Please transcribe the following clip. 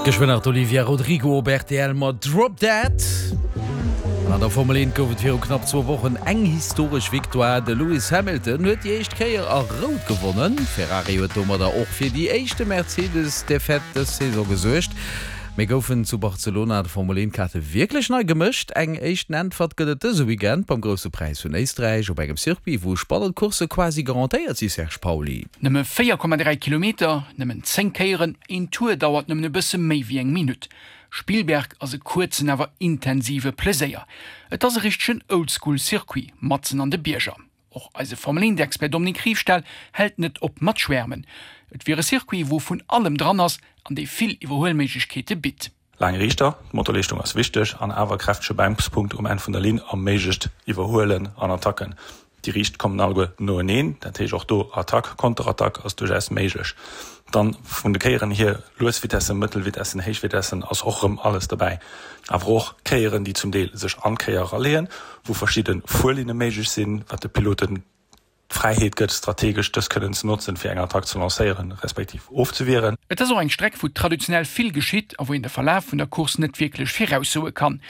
Geschwënn nach d'Olivia Rodrigo op rtl mat Drop Dead. An an der Formel 1 gouf et viru knapp zwou Wochen eng historesch Victoire. De Lewis Hamilton huet déi éischt Kéier a Rout gewonnen. Ferrari huet domadder och fir déi éischte Mercedes-Defaite dës Saison gesuergt. Mee goufen zu Barcelona d'Formel 1 Kaarte wierklech nei gemëscht? Eng éischten Äntwert gëtt et dëse Weekend beim Grousse Präis vun Éisträich op engem Circuit, wou spannend Coursse quasi garantéiert si, Serge Pauly. Nëmme 4,3 Kilometer, nëmmen 10 Kéieren, een Tour dauert nëmmen e bësse méi wéi eng Minutt. Spielberg ass e kuerzen awer intensive Pleséier. Et ass e richtegen Oldschool-Circuit, matzen an de Bierger. Och eise Formel 1 Expert Dominique Riefstahl hält net op mat schwärmen. Et wier e Circuit, wou vun allem dran ass an dee vill Iwwerhuelméiglechkeete bitt. Laang Riichter, d'Motorleeschtung ass wichteg an awer kräftege Bremspunkt um Enn vun der Linn erméiglecht Iwwerhuelen an Attacken. Déi Riicht kommen alleguer noeneen, dat heescht och do Attack, Konterattack ass duerchaus méiglech. Dann vun de Kéieren hier, lues Vitessen, mëttel Vitessen, héich Vitessen ass och erëm alles dobäi. Awer och Kéieren, déi zum Deel sech an d'Kéier eraleeën, wou verschidde Fuerlinne méiglech sinn, wat de Piloten d'Fräiheet gëtt, strategesch dës kënnen ze notzen, fir eng Attack ze lancéieren, respektiv ofzewieren. Et ass och eng Streck, wou traditionell vill geschitt a wou een de Verlaf vun der Course net wierklech viraussoe kann.